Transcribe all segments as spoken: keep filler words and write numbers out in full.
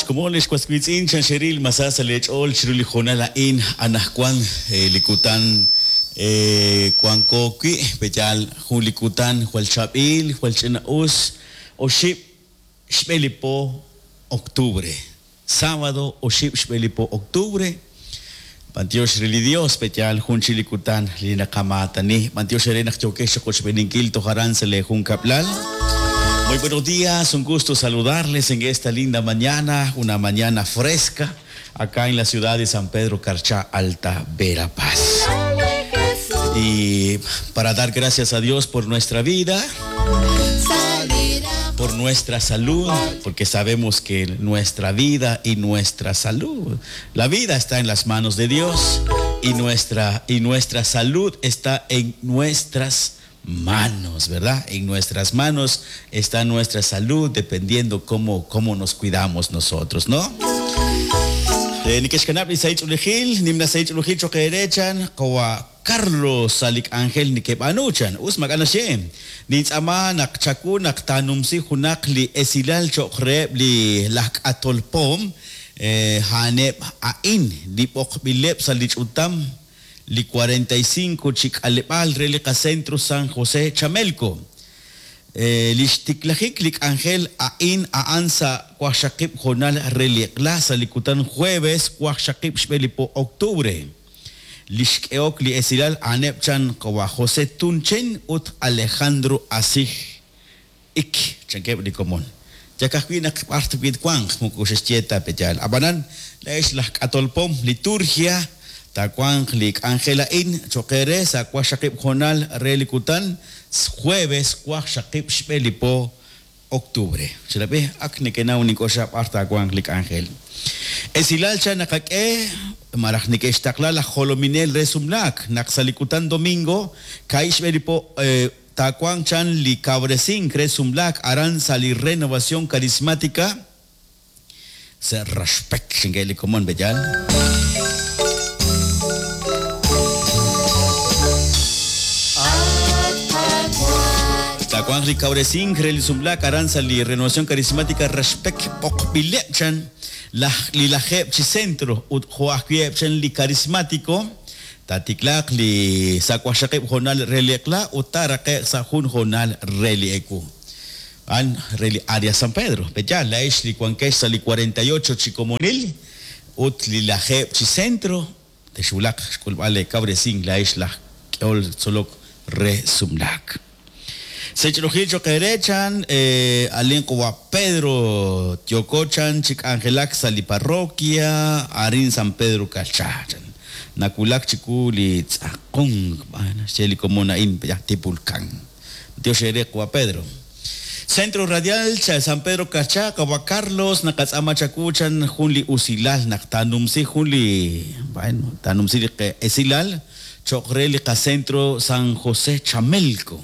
Xkomon lix was wiitz'in chan xeril masa sa' leech'ool chiru li hoonal a'in anaqwan li kutan wanko wi' peyaal jun li kutan jwal chaab'il jwal ch'ina'us oxib' xb'e li po octubre sábado oxib' xb'e li po octubre B'antiox re li Dios peyaal jun chi li kutan li naqamaatani b'antiox re naq yookex chiqochb'eninkil toj aran sa' le junkablal. Muy buenos días, un gusto saludarles en esta linda mañana, una mañana fresca, acá en la ciudad de San Pedro Carchá, Alta Verapaz. Y para dar gracias a Dios por nuestra vida, por nuestra salud, porque sabemos que nuestra vida y nuestra salud, la vida está en las manos de Dios y nuestra, y nuestra salud está en nuestras manos, ¿verdad? En nuestras manos está nuestra salud, dependiendo cómo, cómo nos cuidamos nosotros, ¿no? Nikexkanab' li sahil nimla sahil ch'oolejil choqeerechan qawa Carlos Salik Ángel nikeb'anuchan us mak'anaxem nintz'ama naq chaku naq tanumsi junaq li esilal cho'qreb' li laj k'atolpom haneb' a'in li b'oqb'ileb' sa' li ch'utam li cuarenta y cinco chik'aleb'al re li qacentro San José Chamelco. Li xtiklajik li k'anjel a'in a'an sa' wajxaqib' jonal re li qla sa' li kutan jueves wajxaqib' xb'e li po octubre. Li xk'eok li esilal a'aneb' chan qawa José Tunchen ut Alejandro Asij ik chankeb' li komon. Yakajwi' naq b'ar twit wanq moko xexye ta peyaal. Ab'anan la'ex laj k'atolpom liturgia tawanq li k'anjel a'in choqere sa' wajxaqib' jonal re li kutan jueves wajxaqib' xb'e li po octubre. Xerab'e ak nekenaw nink'oxa b'ar tawanq li k'anjel. Esilal chan naqak'e maraj neke'xtaqla laj jolominel re sumlaak naq sa' li kutan domingo ka'i xb'e li po tawanq chan li kabresink re sumlaak aran sa' li renovación carismática sa' Raxpek xinke li komon beyal. Tawanq li kabresink re li sumlaak aran sa' li renovación carismática Raxpek b'oqb'ileb' chan laj li lajeb' chi centro ut jo'ajwi'eb' chan li carismático tatiklaaq li sa' wajxaqib' jonal re li eq'la ut taraqe'q sa' jun jonal re li ewu. An re li área San Pedro. Peyaal la'ex li wankex sa' li cuarenta y ocho chi komonil ut li lajeb' chi centro texwulaq xk'ulb'al le kabresink la'ex laj k'eol tzolok re sumlaak. Sech'olojil choqerechan alin qawa Pedro Tiokochan chik'anjelak sa' li parroquia arin San Pedro Carchá chan nakulak chiku li tz'aqon xche li komon a'in Tipulcán. Dios ere qawa Pedro. Centro Radial cha San Pedro Carchá qawa Carlos naqatz'ama chakuchan jun li usilal naq tanumsi jun li bueno tanumsi li esilal choqre li qacentro San José Chamelco.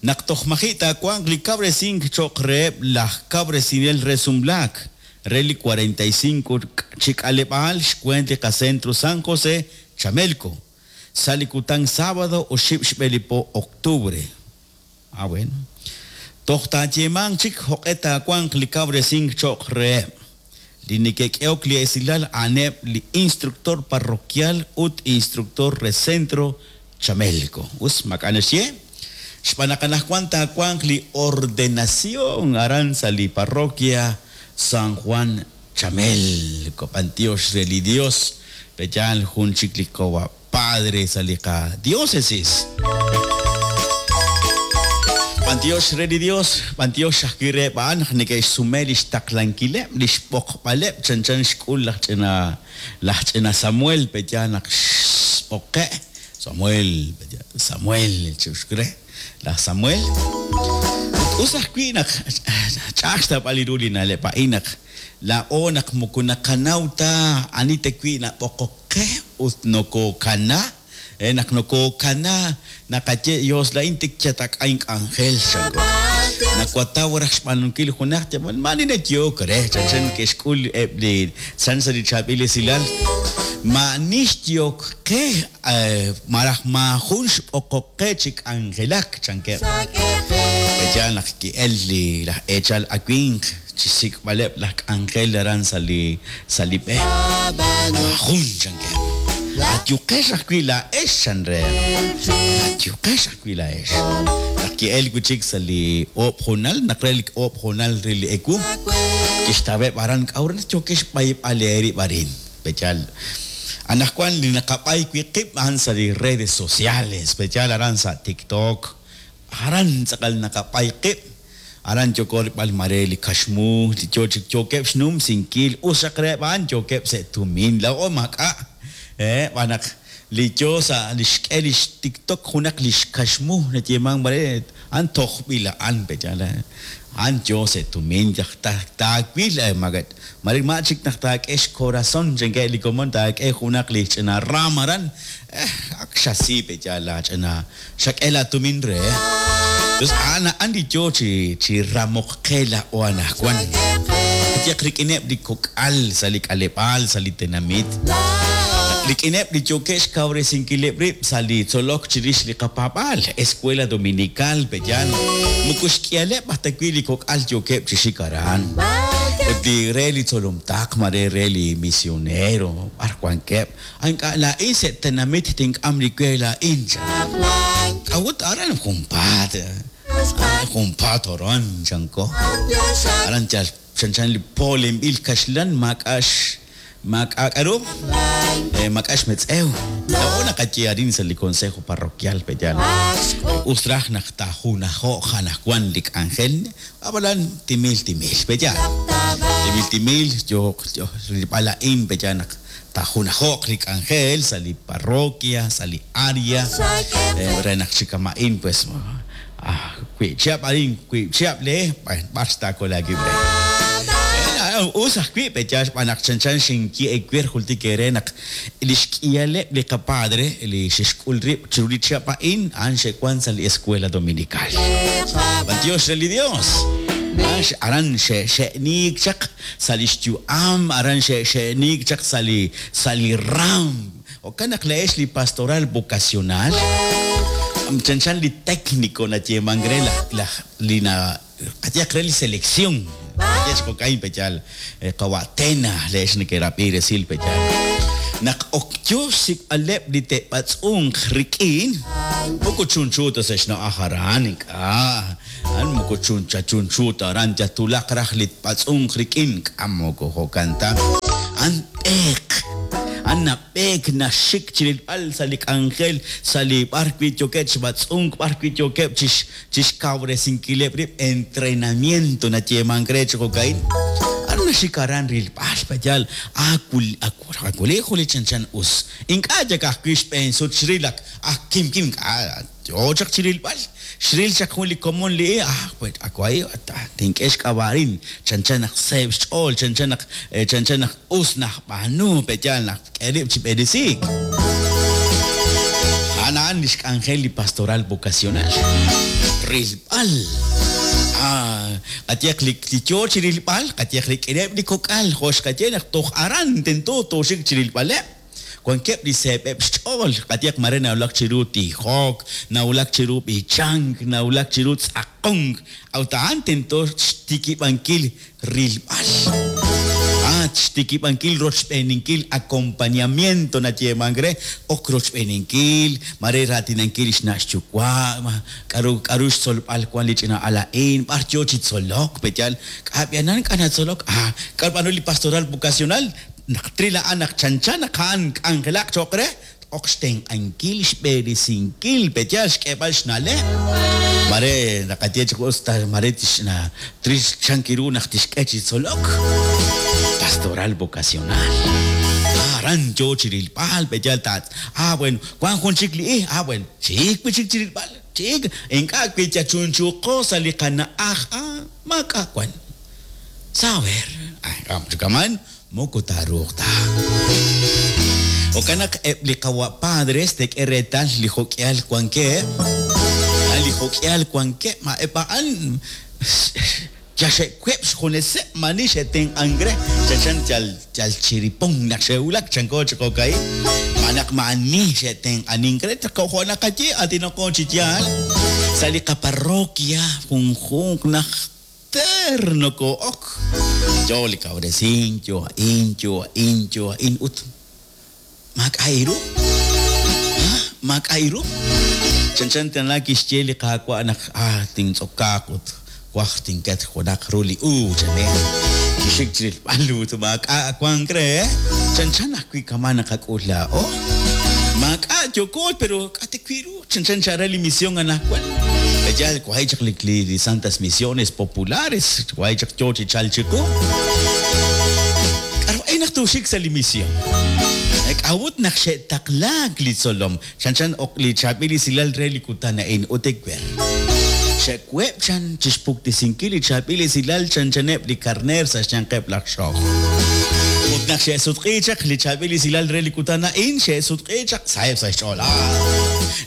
Naq toj maji' tawanq li kabresink cho'qreheb' laj kabresinel re sumlaak re li cuarenta y cinco chik'aleb'aal xkwent li qacentro San José Chamelco sa' li kutan sábado oxib' xb'e li po octubre. Ah bueno. Toj taayeemanq chik joq'e tawanq li kabresink cho'qreheb' li neke'k'ehok li esilal a'aneb' li instructor parroquial ut instructor re centro Chamelco. Us mak'anaxye xb'aan anaqwan tawanq li ordenación aran sa' li parroquia San Juan Chamelco. B'antiox re li Dios peyaal jun chik li qawa padre sa' li qadiócesis. B'antiox re li Dios, b'antiox ajwi' re b'an naq neke'xsume li xtaqlankileb' li xb'oqb'aleb' chanchan xk'ul laj ch'ina laj ch'ina Samuel peyaal naq xb'oqe' Samuel Samuel chuxkre laj Samuel. Ut us ajwi' naq ch'a'aj xtawb'al li ru li na'leb' a'in naq la'o naq moko naqanaw ta ani tewi' nab'oqoq qe ut nokokana naq nokokana naqaye Dios la'in tik chatak'ayn k'anjel chanko nakwataw raj xb'aanunkil junaq yab'al mani nayok re chanchan ke'xk'ul eb' li chan sa' li chaab'il esilal ma'nix yok qe maraj maajun xb'oqoq qe chi k'anjelak chankeb' peyaal naq ki'el li laj eechal awinq Chi xsik'b'aleb' laj k'anjel aran sa' li sa' li b'e. Maajun chankeb'. Ayuqex ajwi' laa'ex chan reheb'. Ayuqex ajwi' laa'ex. Naq ki'elk wi' chik sa' li oob' hoonal, naq re li oob' hoonal re li ewu, kixtaweb' aran k'a'ut naq yookex xb'ayb'al eerib' arin. Pe'yaal anaqwan li naqab'ay wi' qib' a'an sa' li redes sociales, pe'yaal aran sa' TikTok, aran tz'aqal naqab'ay qib', aran yooko rilb'al mare li kaxmu, li yo chik yookeb' xnumsinkil, us xaq reheb' a'an yookeb' sa' tumin, laa'o maak'a', eh, b'an naq li yo sa' li xk'e li xTikTok junaq li xkaxmu nayeeman mare a'an tojb'il a'an, pe'yaal a'an yo sa' tumin, yaj taawil mare ma chik naq taak'e xcorazón chankeb' li komon taak'e junaq li ch'ina ram aran, eh, ak xasi pe'yaal la ch'ina xak'e la tumin re. Entonces a'an a'an li yo chi chi ramoq qe laa'o anaqwan. Qayehaq rik'ineb' li kok'al sa' li k'aleb'aal, sa' li tenamit. Rik'ineb' li yookeb' xkawresinkileb' rib' sa' li tzolok chirix li qapaab'aal, Escuela Dominical, pe'yaal. Moko xk'ihaleb' aj ta wi' li kok'al yookeb' chi xik aran. Ut li re li tzolomtaq, mare re li misionero, b'ar wankeb'. Ink'a' laa'in sa' tenamit tink'am li we laa'in chan. K'a'ut aran junpaat, junpaat aran chanko. Aran yal chanchan li polenb'il kaxlan maak'a' maak'a' k'aru, maak'a' xmetz'ew. Laa'o naqaye arin sa' li consejo parroquial pe'yaal. Us raj naq taajunajo'q anaqwan li k'anjel, ab'anan timil timil pe'yaal. Timil timil yooq rilb'al a'in pe'yaal naq taajunajo'q li k'anjel sa' li parroquia, sa' li área, re naq chi kama'in pues ah, wi' chihab' arin, wi' chihab' le, b'ar xtaakol aawib' re. Us ajwi' pe'yaal xb'aan naq chanchan xinye ewer jultik eere naq li xk'ihaleb' li qapadre li xe'xk'ul rib' chiru li chihab' a'in a'an xe'wan sa' li Escuela Dominical. B'antiox re li Dios. Aran xe'niik chaq sa' li xyu'am, aran xe'niik chaq sa' li sa' li ram. Jo'kan naq la'ex li pastoral vocacional, chanchan li técnico nayeeman re laj laj li na qayehaq re li selección. Qayehaq jo'kan pe'yaal qawa'tena le'ex neke'rab'i resil pe'yaal. Naq ok yo xsik'b'aleb' li te'b'atz'unq rik'in, moko chunchu ta sa' xna'aj aran, ink'a'. A'an moko chuncha chunchu ta aran, yatulaq raj li b'atz'unq rik'in, k'a moko jo'kan ta. A'an b'eek. A'an nab'eek naxik chirilb'al sa' li k'anjel, sa' li b'ar wi' yookeb' chi b'atz'unk, b'ar wi' yookeb' chi xkawresinkileb' rib' entrenamiento nayeeman re chi jo'ka'in. A'an naxik aran rilb'al pe'yaal akul akuli juli chanchan us. Ink'a' yak ajwi' xb'een sut xril ak ak kim kim ink'a' yo chaq chi rilb'al. Xril chaq jun li komon li ah pues akwai tink'e xk'ab'a'rin chanchan naq seeb' xch'ool, chanchan naq chanchan naq us najb'aanu pe'yaal naq k'e rib' chi b'eresiik. A'an a'an li xk'anjel li pastoral vocacional. Rilb'al. Ah, qayehaq li yo chi rilb'al, qayehaq rik'ineb' li kok'al, jo' xqaye naq toj aran tento tooxik chi rilb'aleb'. Wankeb' li seeb'eb' xch'ool, qayehaq mare nawulak chiru tijok, nawulak chiru b'ichank, nawulak chiru tz'aqonk, a'ut a'an tento xtikib'ankil rilb'al. Ah, xtikib'ankil rochb'eeninkil acompañamiento nayeeman re, ok rochb'eeninkil, mare raatinankil li xna' xyuwa', k'aru k'aru xtzolb'al wan li ch'ina al a'in, b'ar yo chi tzolok, pe'yaal k'ab'yanan k'a natzolok, ah, k'aru b'aanu li pastoral vocacional, naq tril a'an naq chanchan naq a'an k'anjelaq cho'q re, ok xtenq'ankil xb'eresinkil, pe'yaal xk'eeb'al xna'leb'. Mare naqaye chi us ta mare tixna tril chankiru naq tixk'e chi tzolok. Pastoral vocacional. Aran yo chi rilb'al, pe'yaal ta ah bueno, wan jun chik li ij, ah bueno, chik wi chik chi rilb'al, chik ink'a' wi yachunchuqo sa' li qana'aj, ah maak'a' wan. Saber, ah, kaman moko taaruuq ta. Jo'kan naq eb' li qawa' padres tek'e reetal li jok'ihal wankeb', li jok'ihal wankeb', ma eb' a'an yaxe'web' xjuneseb' mani xe'tenq'ank re, chanchan yal yal chiripon naq xe'wulak chanko chi jo'ka'in, ma naq ma'ani xe'tenq'anink re, jo' naqaye aatinoqo chi yaal sa' li qaparroquia junjunq naq Najter nokoo'ok yo li kawresink, yo a'in, yo a'in, yo a'in ut maak'a' iru. Maak'a' iru. Chanchan tana kixye li Qaawa' naq ah tintz'okaaq ut waj tinket junaq ru li uub' chane. Kixik chi rilb'al ut maak'a' wank re. Chanchan ajwi' kama' naqak'ul laa'o. Maak'a' yooko pero k'ate wi' ru. Chanchan chara li misión anaqwan. Yal wahi' chaq li li Santas Misiones Populares, wahi' chaq yo chi chal chiqu. K'aru ay naq tuxik sa' li misión. K'awut naq xe'taqlaak li tzolom. Chanchan ok li chaab'il esilal re li kutan a'in ut ewer. Xe'web' chan chixpuktisinkil li chaab'il esilal chanchaneb' li karneer sa' xyanqeb' laj xoj. Ut naq xe'sutq'i chaq li chaab'il esilal re li kutan a'in, xe'sutq'i chaq saheb' sa' xch'ool.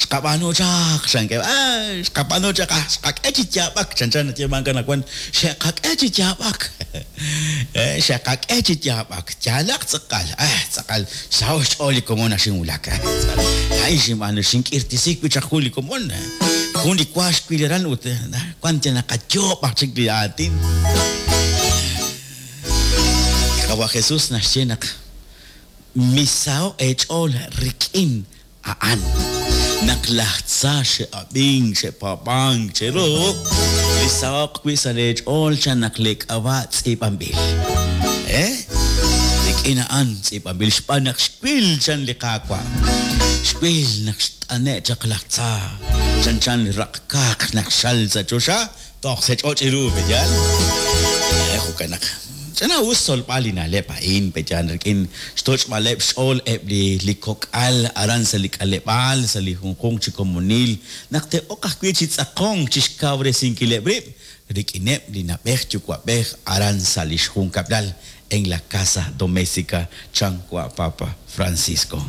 Xqab'aanu chaq, chankeb', ah, xqab'aanu chaq, ah, xqak'e chi yaab'ak, chanchan nayeemank anaqwan, xe'qak'e chi yaab'ak. Eh, xe'qak'e chi yaab'ak, yaalaq tz'aqal, ah, tz'aqal, xsaho' xch'ool li komon naq xinwulak. A'in xinb'aanu, xink'irtisi wi' chaq jun li komon. Jun li wa xwil aran ut wan yal naqayoob' aj chik li aatin. Qawa' Jesús naxye naq misaho' eech'ool rik'in a'an. Naq laj tza xe'ab'ink, xe'paab'ank cheru, li saho'q wi' sa' leech'ool chan naq li k'ab'a' tz'iib'anb'il. Eh? Rik'in a'an tz'iib'anb'il xb'aan naq xwil chan li Qaawa'. Xwil naq xt'ane' chaq laj tza. Chanchan li raq'kaaq naq xal sa' choxa, toj sa' ch'och' iru, peyal. Eh, jo'kan naq ch'ana us tzolb'al li na'leb' a'in, peyal, rik'in xtoch'b'aleb' xch'ool eb' li li kok'al aran sa' li k'aleb'aal, sa' li junjunq chi komonil, naq te'oq ajwi' chi tz'aqonk chi xkawresinkileb' rib' rik'ineb' li na'b'ej yuwa'b'ej aran sa' li xjunkab'lal en la casa doméstica chan wa' Papa Francisco.